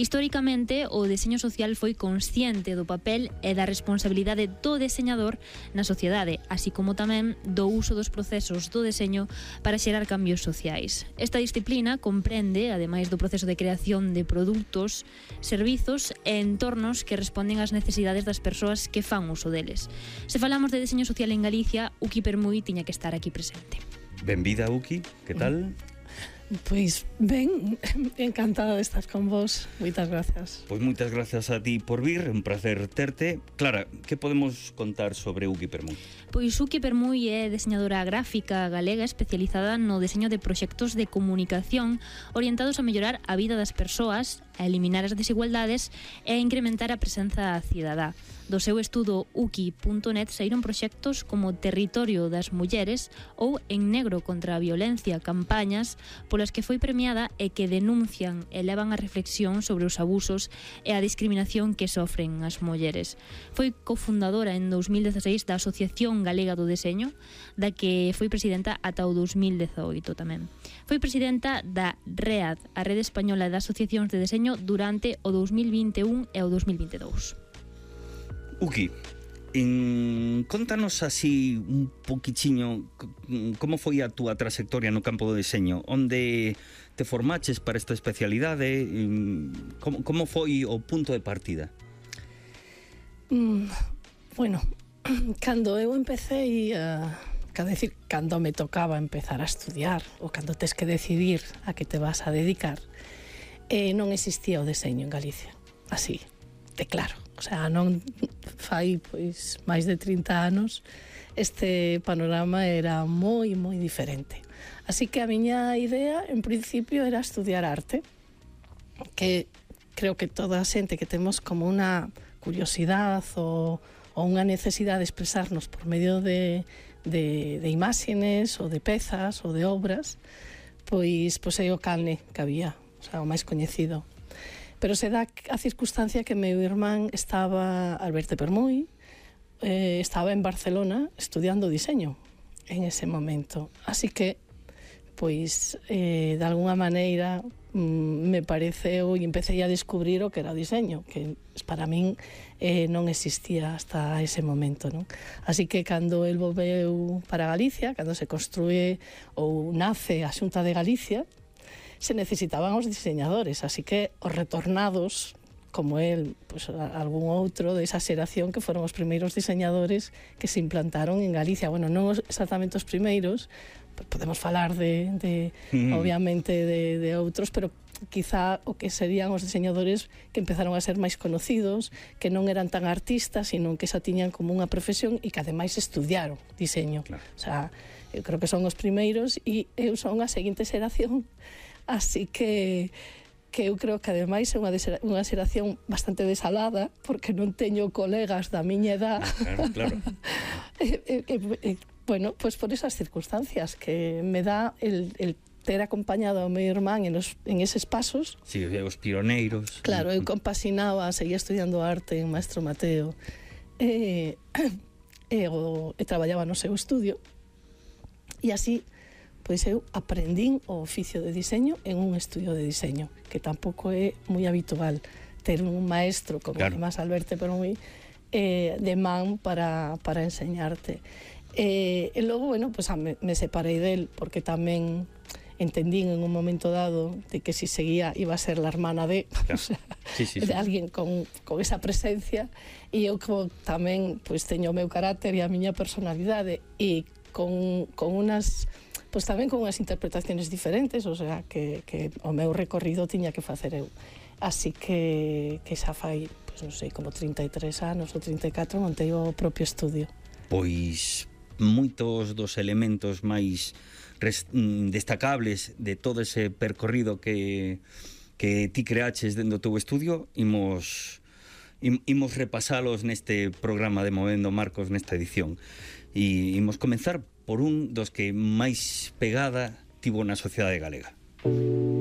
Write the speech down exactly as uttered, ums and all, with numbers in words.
Históricamente, o deseño social foi consciente do papel e da responsabilidade do deseñador na sociedade, así como tamén do uso dos procesos do deseño para xerar cambios sociais. Esta disciplina comprende, ademais do proceso de creación de produtos, servizos e entornos que responden ás necesidades das persoas que fan uso deles. Se falamos de deseño social en Galicia, Uki Permuy tiña que estar aquí presente. Benvida, Uki, que tal? Pois ben, encantada de estar con vos. Moitas gracias. Pois moitas gracias a ti por vir, un placer terte. Clara, que podemos contar sobre Uki Permuy? Pois Uki Permuy é deseñadora gráfica galega especializada no deseño de proxectos de comunicación orientados a mellorar a vida das persoas, a eliminar as desigualdades e a incrementar a presenza cidadá. Do seu estudo uki punto net saíron proxectos como Territorio das Mulleres ou En Negro contra a Violencia, campañas polas que foi premiada e que denuncian e levan a reflexión sobre os abusos e a discriminación que sofren as mulleres. Foi cofundadora en dous mil dezaseis da Asociación Galega do Deseño, da que foi presidenta ata o dous mil dezaoito tamén. Foi presidenta da READ, a Rede Española de Asociacións de Deseño, durante o dous mil vinte e un e o dous mil vinte e dous. Uki, en, contanos así un poquichiño como foi a túa trayectoria no campo do deseño, onde te formaches para esta especialidade, como, como foi o punto de partida? Mm, bueno, cando eu empecé a... Quero decir, cando me tocaba empezar a estudiar ou cando tes que decidir a que te vas a dedicar, eh, non existía o deseño en Galicia, así, de claro. O sea, non fai pois máis de trinta anos este panorama era moi, moi diferente. Así que a miña idea, en principio, era estudiar arte, que creo que toda a xente que temos como unha curiosidade ou, ou unha necesidade de expresarnos por medio de, de, de imágenes ou de pezas ou de obras, pois, pois é o Calne que había, o sea, o máis coñecido. Pero se dá a circunstancia que meu irmán estaba, Alberto Permuy, eh, estaba en Barcelona estudiando diseño en ese momento. Así que, pois, eh, de alguna maneira, mm, me pareceu e empecé a descubrir o que era o diseño, que para min eh, non existía hasta ese momento, non? Así que, cando el volveu para Galicia, cando se construe ou nace a Xunta de Galicia, se necesitaban os diseñadores, así que os retornados, como el, pues, algún outro desa xeración que foron os primeiros diseñadores que se implantaron en Galicia. Bueno, non exactamente os primeiros, podemos falar de, de mm. obviamente, de, de outros, pero quizá o que serían os diseñadores que empezaron a ser máis conocidos, que non eran tan artistas, sino que xa tiñan como unha profesión e que ademais estudiaron diseño. Claro. O sea, eu creo que son os primeiros e eu son a seguinte xeración. Así que que eu creo que ademais é unha, unha xeración bastante desalada, porque non teño colegas da miña edad. Claro, claro. e, e, e, bueno, pues por esas circunstancias que me dá el, el ter acompañado ao meu irmán en, os, en eses pasos. Sí, os pioneiros. Claro, eu compasinaba, seguía estudiando arte en Maestro Mateo, e, e, o, e traballaba no seu estudio, e así pois eu aprendín o oficio de diseño en un estudio de diseño, que tampouco é moi habitual ter un maestro como claro. Además Alberto Permuy eh, de man para, para enseñarte. Eh, e logo, bueno, pues, me, me separei del, porque tamén entendín en un momento dado de que si seguía iba a ser la hermana de, claro. O sea, sí, sí, de sí. Alguén con, con esa presencia, e eu como tamén pues, teño o meu carácter e a miña personalidade, e con, con unas... Pois tamén con unhas interpretaciones diferentes, o sea, que, que o meu recorrido tiña que facer eu. Así que, que xa fai, pois non sei, como trinta e tres anos ou trinta e catro montei o propio estudio. Pois moitos dos elementos máis res, destacables de todo ese percorrido que, que ti creaches dentro do teu estudio, imos, imos repasalos neste programa de Movendo Marcos nesta edición. E imos comenzar por un dos que máis pegada tivo na sociedade galega.